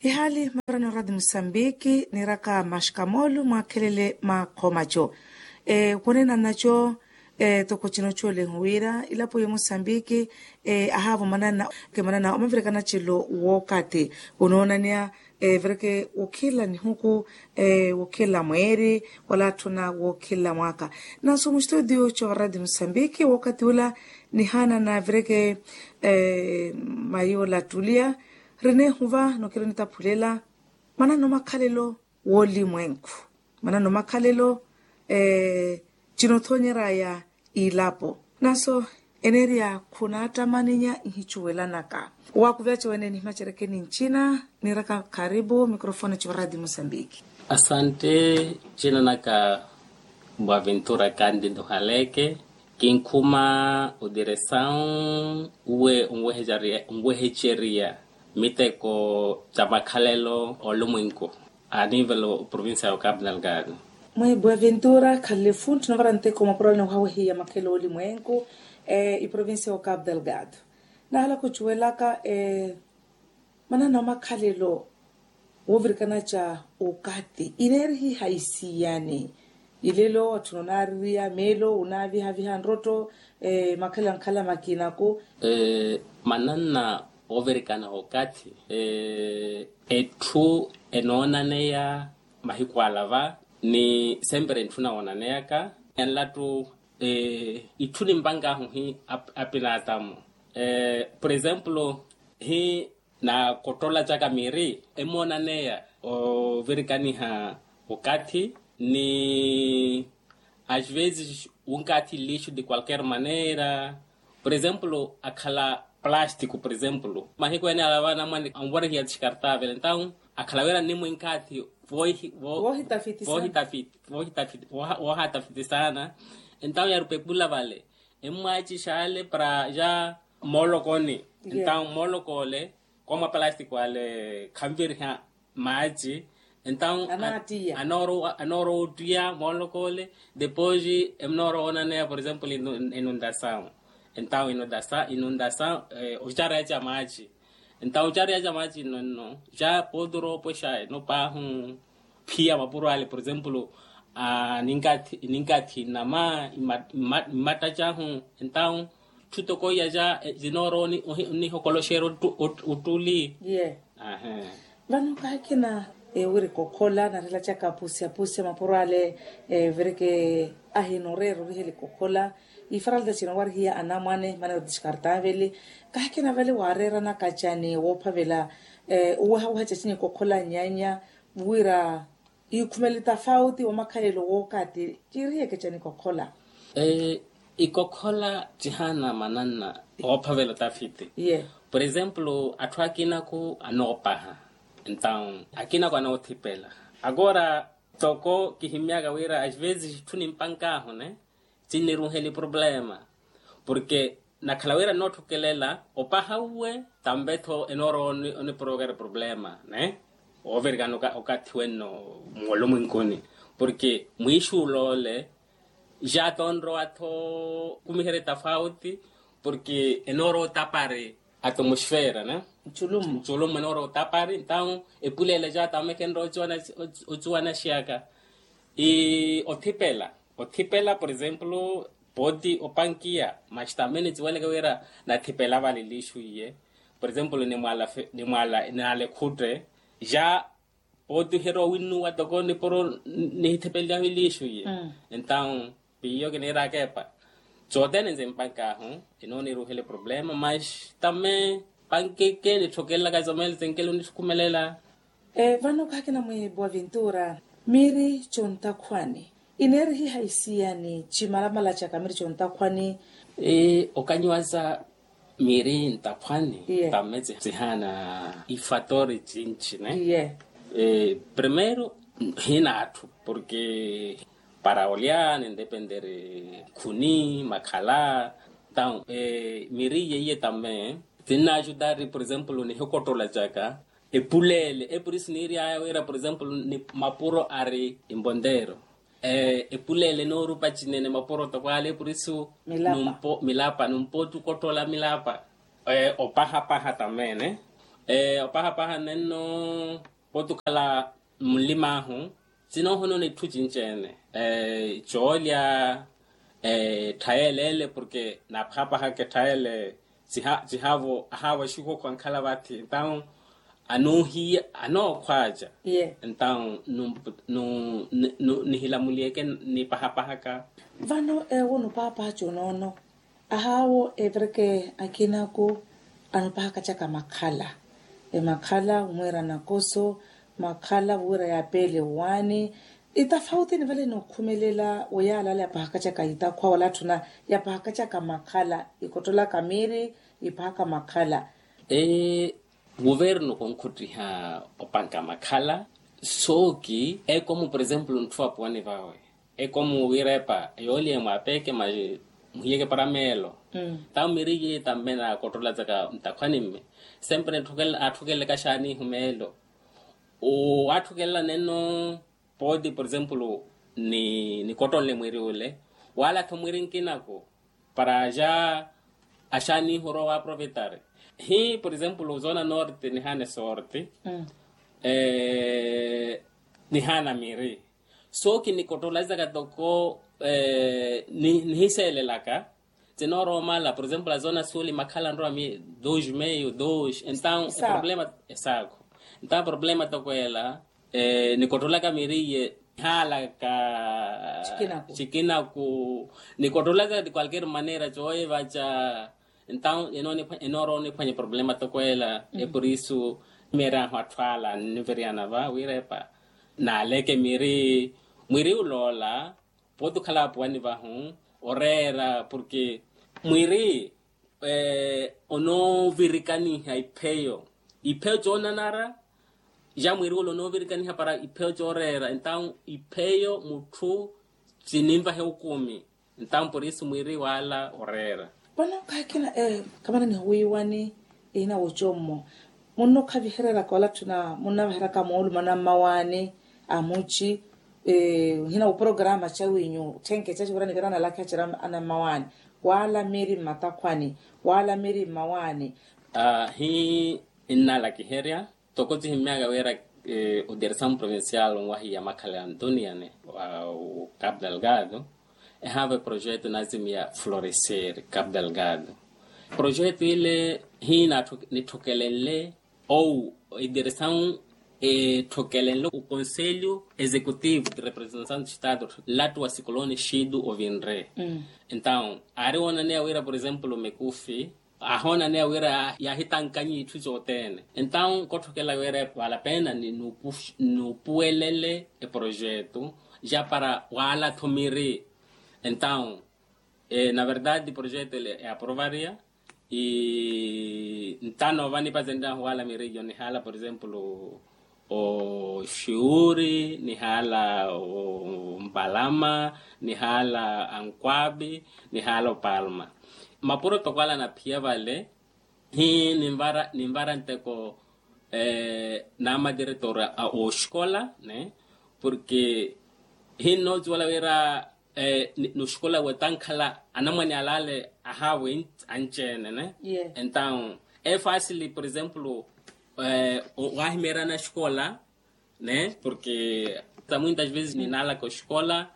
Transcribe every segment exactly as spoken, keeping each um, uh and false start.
Ihaali marani oradi musambiki niiraka mashikamoolu mwaakhelele makhomaco. Kunena naco. Toko cinocoole wira ilapo ya musambiki ahaavo manana omavirikana cilo wookati. Onoonaneya vireke wokhila nihuku wokhila mweeri wala atthuna wokhila mwaaka. Nanso mustudio covaradi musambiki wookati ula nihaana na vireke mayi ola tulia rinehuva nokiri nitaphulela manano makhalelo woolimwenku manano makhalelo. Cinothoonyeraya ilapo nanso enereya khunattamaninya nhicuwelanaka. Wakuveca wene nihimacerekeni ncina niiraka karipu mikrofone civaradi musambiki. Asante. Cina naka mbwa vintura kandi nduhaleke kinkhuma udiresawu uwe onweheceriya miteko ca makhalelo olumwinku. A nivelo provincia ya okapu nalgado. Mwe buaventura khalefu nthuna vara nteko mapuralani wahawehiya makhalelo olimwenku iprovincia ya okapu nalgado. Nahala khucuwelaka manana makhalelo wovirikana ca okathi ineerihiha isiyani. Ilelo atthu nonaaririya meelo onaavihaviha nrotto makhalelo ankhala makinaku. Mananna ovirikana okathi etthu enoonaneya mahiku alava ni sempre ntthuna woonaneyaka enlattu. Itthu nimpankahu hi apinatamu por exemplo hi nakottolacaka miiri emoonaneya ovirikaniha okathi ni as vezes unkathi lixo de qualquer maneira. Por exemplo akhala plástico por exemplo mahiku ene alava anamwane anvorihiya descartable entawu akhala wira nimwinkathi voohitafiti voohitafiti voohatafiti saana. Entawu yarupa epula vale emmwaci xaale para ya moolokoni. Entawu moolokole koomwa plástico ale khanviriha maaci entawu anoorowa ottiya moolokole. Depois emunoorowa onaneya por exemplo inundasawu entawu inundasawu ocareya ca maaci. Entawu ocareya ca maaci inonno ca pooti oroopwexa eno paahu phiya mapuro ale por exemplo ninkathi nama mmattacahu entawu tthutokoiya ca zinoorowa onihokoloxera ottuli. Vano kahikina wiri kokhola narelacaka pusiya pusiya mapuro ale vireke ahinoreera oriheli kokhola ifaralta cina warihiya anamwane maneira descartable. Kahikina vale waareeranaka cani woophavela owehaweha cacinyi kokhola nyanya wira ikhumele tafauti wa makhalelo wookati ciiriheke cani kokhola. Ikokhola cihaana mananna oophavela otafiti. Por exemplo atthu akinaku anoopaha entawu akinaku anoothipela. Agora toko kihimyaka wira as vezes itthu nimpankahu ne cinniruheli problema. Porque nakhala wira nnoothukelela opaha uwe tambe-tho enoorowa oniprovokera problema ne. Oovirikana okathi wenno mwolumwenkuni porque mwiixuula ole ja tonrowa-tho kumiherya tafauti porque enoorowa otapari atmosfera ne nculumu enoorowa otapari entawu epuleela ja tamekhenrya ocuwanaxiyaka. Othipela othipela por exemplo pooti opankiya mas tambe niciweleke wira nathipela vale lixu iye. Por exemplo nimwala nimwala nalekhutte ja pooti ohirowa winnuwa toko nipuro nihithipelelyahu ilixu iye. Entawu piyo kiniiraka epa cothene nzimpankahu inooniruhele problema mas tambe pankeke nitthokelelaka zomele tenkele onitthukhumelela. Vano khakina mwiipuwa vintura miiri contakhwani ineerihiha isiyani cimalamala caka miiri contakhwani. Okanyiwaza miiri ntakhwani tamme cihaana ifatori cinci ne. Primeiru hina atthu porque para olya nindependere khuni makhala. Entawu miiri iye iye tamme tinnaajutari por exemplo nihikottolacaka epuleele epurisi niiry'aya wira por exemplo ni mapuro ari imponteero. Epuleele enoorupa cinene mapuro toko ale epurisi milapa numpooti okotthola milapa opahapaha tamme ne. Opahapaha nenno pooti okhala mmulim'ahu sinoohonona itthu cinci-ene, coolya, etthaya ele ele porke naaphapahaka etthaya ele. Cihaavo ahaavo axukuku ankhala vathi entawu anoohiya anookhwaaca. Entawu nihilamuliyeke nipahapahaka. Vano ewo nupaapaha conoono ahaawo evireke akinaku anupahakacaka makhala. Emakhala omwiira nakoso makhala vuwira yaapeele owaani. Itafauti ni vale nookhumelela wa yaala ale yapahakacaka itakhwa wala atthuna yapahakacaka makhala ikottolaka miiri ipahaka makhala. Ee, guvernu khunkhuttiha opanka makhala sooki ekomu por exemplo ntthu apuwani vawe ekomu wiirepa yoolya emwaapeke mayi muhiyeke para meelo. Tawo miri yiye tamme naakottola zaka ntakhwani mme sempre atthukelelaka xaanihu meelo. Waatthukelela nenno pooti por exemplo nikottonle mwiri ule wala-tho mwiri nkinaku para ja axaanihu orowa waaprovetar. Hi por exemplo zona norte nihaana esorte nihaana miri. Sooki nikottola zaka toko nihiseelelaka. Tinooromala por exemplo azona suuli makhala nrowa mi dos meio dos entawu eproblema esaakho. Entawu eproblema toko ela nikottolaka miri iye nihaalaka cikinaku. Nikottolaka de qualquer maneira cooye vaca. Entawu enoorowa oniphwanya eproblema toko ela epurisu. Meerahu atthu ala nniviriyana va wiirepa naaleke miri mwiri uloola. Pooti okhala apuwani vahu oreera porke mwiri onoovirikaniha ipheyo ipheyo coonanara. Ja mwiri ule onoovirikaniha para ipheyo cooreera entawu ipheyo mutthu cininvahe okumi. Entawu por isu mwiri wala oreera. Vano kaakina kamana nihuwiiwani ehina wocommo munnokhavihereraka wala atthuna munnavaheraka moolumana mmawaani a muci. Hina woprograma cawinyu thenke caci wira nivira nalakha cira ana mmawaani wala miri mmatakhwani wala miri mmawaani. Hi nnalakiherya toko cihimmyaka wira odiresamu provincial onwahiya makhala ya antoniyane wa capu delgado ehaava eprojeto naazimiya florecer capu delgado. Projeto ile hi nitthokelenle ou ediresamu etthokelenle oconselho executivo de representação do estado lattu wa sikoloni xidu ovinre. Entawu aari woonaneya wira por exemplo mekufi ahoonaneya wira yaahitankanyi itthu cothene. Entawu nkothokela wira vale a pena ni nupuwelele eprojeto ja para wala-tho miri. Entawu na verdade projeto ele eaprovaria. Ntano vanipazenryahu wala miri iyo nihala por exemplo oxiuri nihala ompalama nihala ankwabi nihala opalma. Mapuro toko ala anaphiya vale hi ninvara nteko n'amadiretor a oxikola ne porke hi nnoocuwela wira noxikola wetankhala anamwane alale ahawe anci-ene ne. Entawu efasili por exemplo wahimeerya naxikola ne porke tamuintas vezes ninalaka oxikola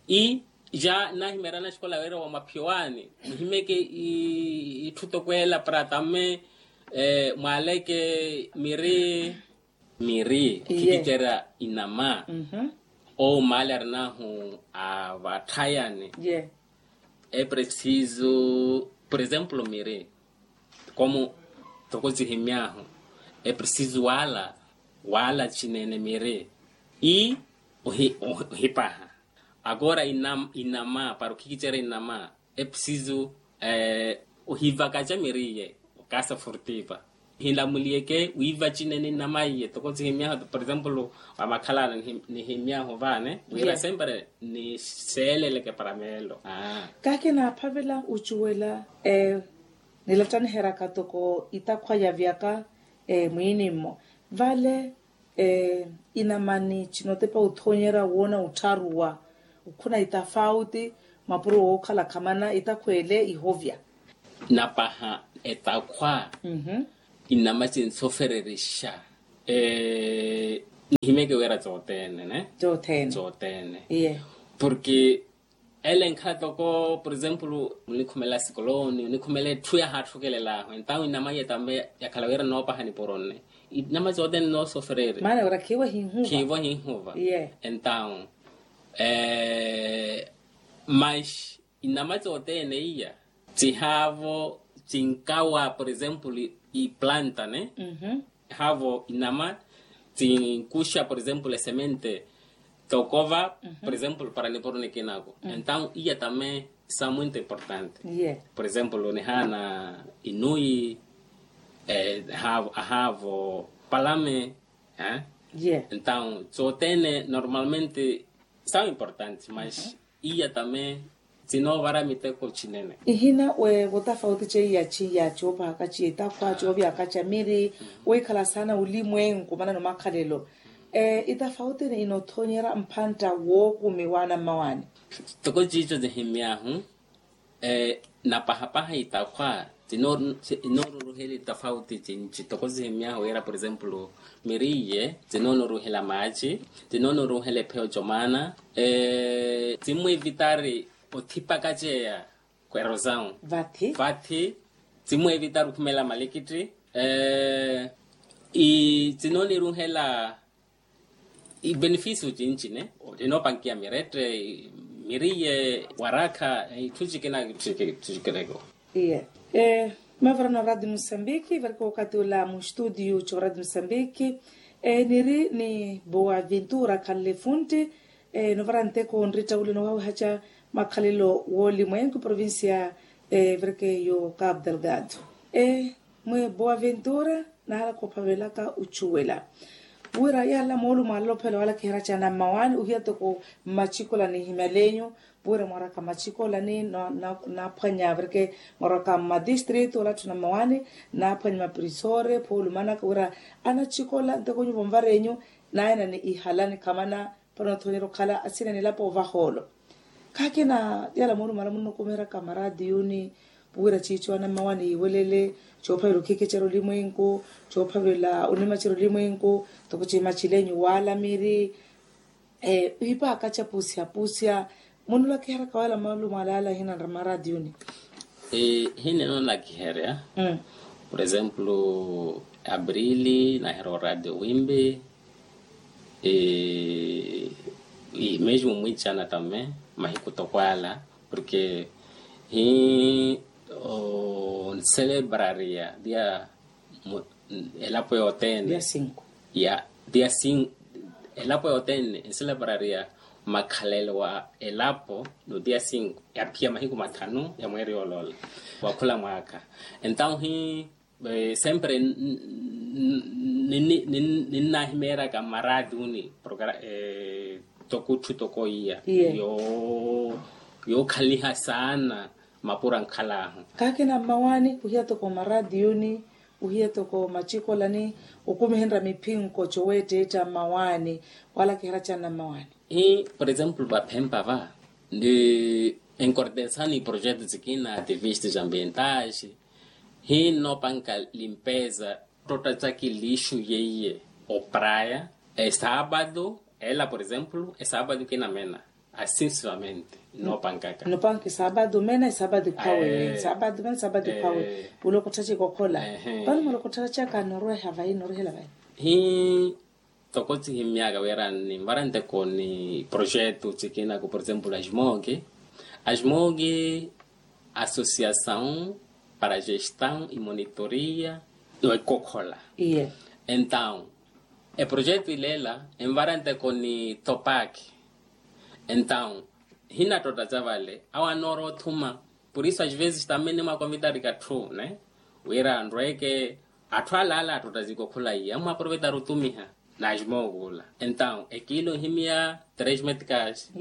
i ja nnahimeerya naxikola wira wa maphiwaani muhimeke itthu toko ela para tamme mwaleke miri miri okhikicerya inama ou maali arinahu a vatthayani. Epreciso por exemplo miri komu toko cihimmyahu epreciso wala wala cinene miri i ohipaha agora inama para okhikicerya inama epreciso ohivakaca miri iye okasa furtiva hinlamuliyeke wiiva cinene inama iye toko cihimmyahu por exemplo wa makhalala nihimmyahu vane wira sempre niseeleleke para meelo. Kahi kinaaphavela ocuwela nilattaniheryaka toko itakhwa yavyaka mwiinimmo vale inamani cinotepa othoonyerya woona ottharuwa okhuna itafauti mapuro wookhala khamana itakhwa ele ihovya. Napaha etakhwa Inama cinsofererixa. Nihimeke wira cothene ne. Cothene. Cothene. Porke ele nkhala toko por exemplo onikhumela sikoloni onikhumela etthu yahaatthukelelahu entawu inama iya tambe yakhala wira noopaha nipuro nne. Inama cothene noosofereri maana wira khiivo hihuva. Khiivo hihuva. Entawu mas inama cothene iya cihaavo cinkawa por exemplo iplanta ne. Haavo inama cinkuxa por exemplo esemente tokova por exemplo para nipuro nikinaku entawu iya tame sa muito importante. Por exemplo nihaana inuyi ahaavo palame. Entawu cothene normalmente sa importante mas iya tame cinoovara miteko cinene. Ihina we votafauti ceiya ciya coopahaka ciya itakhwa coovyaka ca miri wikhala saana olimwenku manano makhalelo. Itafauti ni inoothonyerya mpantta wookumi waana mmawani. Toko ciico cihimyaahu napahapaha itakhwa cinooruruhela itafauti cinci toko cihimyaahu wira por exemplo miriye cinoonuruhela maaci cinoonuruhela epheyo comaana. Cimmwevitari othipaka ceya kwerosawu vathi vathi. Cimmwevitari okhumela malikitthi cinooniruhela ibenefisio cinci ne. Inoopankiya mirette miriye warakha itthu cikina. Itthu cikineko. Iye. Mavarana radio mosambiki varika wakati ula mu studio co radio mosambiki. Niri ni boa ventura khanle funti novara nteko nritta ule nowawihaca makhalelo wolimwenku provincia. Varika yo cabo delgado. Mwe boa ventura nahala khophavelaka ocuwela wira yaala moolumo alala ophela wala kiheraca na mmawaani ohiya toko mmacikola ni himyalenyu. Wira mwaraka macikola ni naaphwanya virke mwaraka mmadistritu wala atthu na mmawaani naaphwanya mapirisore phoolumanaka wira anacikola ntoko nyuvo mvarenyu naayana ni ihala nikhamana. Para onoothonyerya okhala asina nilapo ovahoolo. Khaakina yaala moolumala munnokumiheraka maraatiyuni wira ciico anammawa niiwelele coophavela okhikicerya olimwenku coophavela onimacerya olimwenku. Toko cimacilenyu waala miri. Ipaaka capusihapusiha munulakiheraka wala malumo alaala hina nra maraatiyuni. Hini enolakiherya por exemplo abrili naahira oradio wimbi. Mesmo mwiicana tame mahiku toko ala porque hi onselebrariya dia elapo yothene. Ya dia elapo yothene enselebrariya makhalelo wa elapo no dia cinco yaphiya mahiku mathanu ya mweeri yoloola. Wakhula mwaakha entawu hi sempre ninnahimeeryaka maraatiyuni toko etthu toko iya yookhaliha saana. Mapura nkhalaahu kaakina mmawaani ohiya toko maraatiyuni ohiya toko macikolani okumihenrya miphinko coweetteetta mmawaani wala kiheracanna mmawaani. Hi por exemplo vaphempa va ndi enkortensani projeto cikina ativistes ambientais. Hi nnoopanka limpeza ttotta caki lixu yeiye opraya esaapatu ela por exemplo esaapatu kinamena. Asinsuamente nnoopankaka nnoopanka esaapatu mena esaapatu ikhawe esaapatu mena esaapatu ikhawe. Wula okottha cikokhola vano mula okottha caka nnorweha vayi nnorwehela vayi. Hi toko cihimmyaka wira ninvara nteko ni projeto cikina ku por exemplo ajmoki ajmoki associação para gestão e monitoria. Ekokhola entawu eprojeto ilela envara nteko ni topaki. Entawu hinattotta ca vale awo anoora othuma por isso as vezes tamene mwakonvitarika atthu ne wira anrweke atthu alaala attotta zikokhula iya mwaprovetari otumiha. Najimookuula entawu ekiilo nhimiya tres metkas.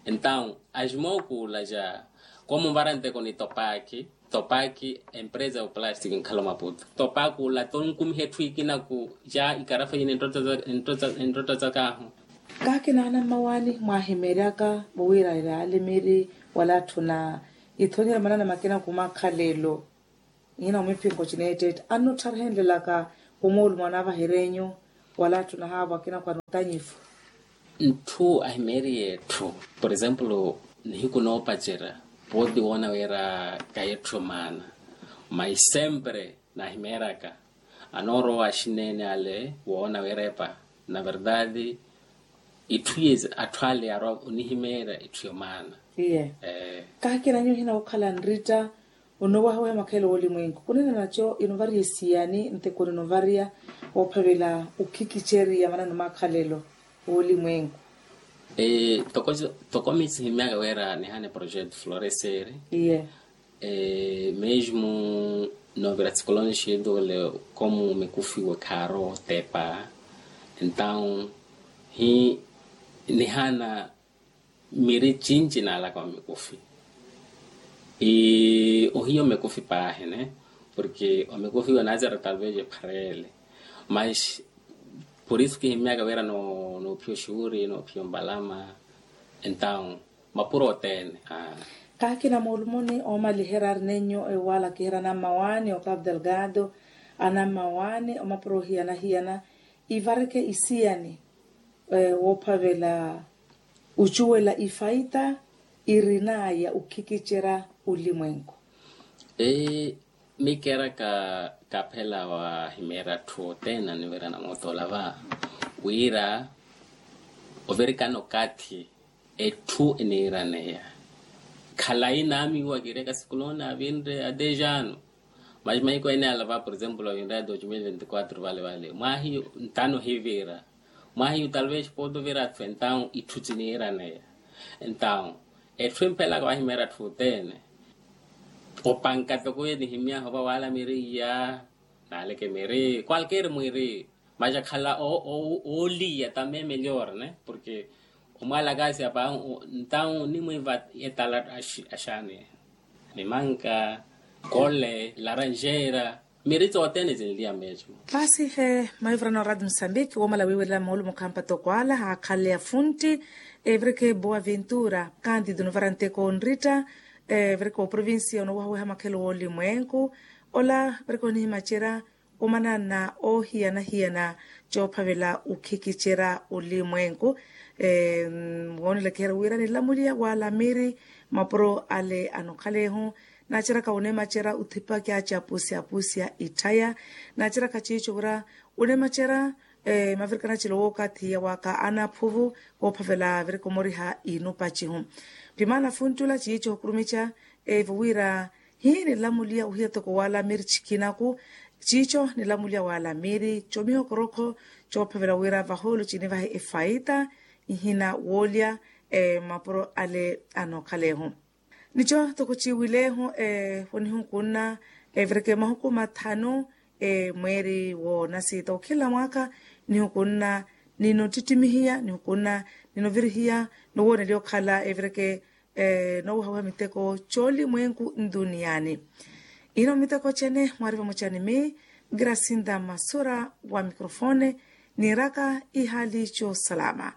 Entawu ajimookuula ja komunvara nteko ni topaki topaki empresa ya oplastic nkhala omaputo topaki ula tonkumiha etthu ikinaku ja ikarafa yina entotta cakahu. Kaakina anammawaani mwaahimeeryaka vo wira iraale miri wala atthu na ithonyerya manana makinaku makhalelo. Nhina omiphinko cineettetta annuttharhenlelaka, omoolumo anaavaherenyu wala attu nahaavo akina kwa nutanyifu. Ntthu ahimeeriye etthu, por exemplo, nihiku noopacerya pooti woona wira kahi etthu yomaana. Mai sempre naahimeeryaka anoorowa axineene ale woona wira epa na verdade itthu ye atthu ale arwa onihimeerya itthu yomaana. Iye. Kaakina nyuwo hina okhala nritta onoowaha weha makhelo woolimwenku kunena naco inovariya esiyani nteko ninovariya woophavela okhikiceriya manano makhalelo woolimwenku. Toko mitsi himyaka wira nihane projeto floreseri. Iye. Mesmo novira tsikolono xidule komu mikufiwe kharo tepa. Entaun hi nihana miri cinci naalaka omikufi. Ohiya omikufi paahi ne, porke omikufi iwe naazira talvez ephareele. Mas por isu kihimyaka wira noophiya oxuuri noophiya ombalama. Entaun mapuro othene. Kaakina moolumoni oomaliherya ari nenyo ewala kiherya anammawaani okapu delgado anammawaani omapuro ohiyana-hiyana ivareke isiyani woophavela ocuwela ifaita irinaya okhikicerya olimwenku. Mikeraka kaphela wahimeerya atthu othene anivirana mootoola va wira ovirikana okathi etthu eniiraneya. Khalayi naamiwa kireka sikulu onaavinre adejano. Mas mahiku ene ala va por exemplo ovinre a dos mil vinte quatro vale vale mwahi ntano hivira mwahi talvez pooti ovira atthu entaun itthu tiniiraneya. Entaun etthu empelaka wahimeerya atthu othene opanka toko enihimyaha ova wala miri iya naaleke miri qualquer mwiri. Mas akhala ooliya tamee melhor ne porke omwalaka asi apa entaun nimwiva etala axaani. Mimanka kole laranjera miri tothene tinliya mesmo. Pasi he maivirana oradi musambiki womala wiiwelela moolumo khampa toko ala haakhale afunti. Evireke boa ventura kantido novara nteko onritta evireke oprovincia onoowaha oweha makhelo woolimwenku ola vireke onihimacerya omanana oohiyana-hiyana coophavela okhikicerya olimwenku. Woonelekehera wira nilamuliya wala miri mapuro ale anokhalehu naaceraka onemacerya othipakya capusi-apusi ya itthaya. Naaceraka ciico wira onemacerya mavirikana cilo wookathi yawaka anaphuvu woophavela virikomoriha inupacihu. Pimaana funtula ciico hukurumica evo wira hi nilamuliya ohiya toko wala miri cikinaku. Ciico nilamuliya wala miri comiha okorokho coophavela wira vahoolo cinivahe efaita ihina woolya mapuro ale anokhalehu. Nico toko ciiwilehu onihukunna evireke mahuku mathanu mweeri woonasiita okhinla mwaakha nihukunna ninottittimihiya nihukunna ninovirihiya nowooneliya okhala evireke noowaha-waha miteko coolimwenku ntuniyaani. Ino miteko cene mwaari vamoca ni mi grasinda masura wa microfone niiraka ihaali coosalama.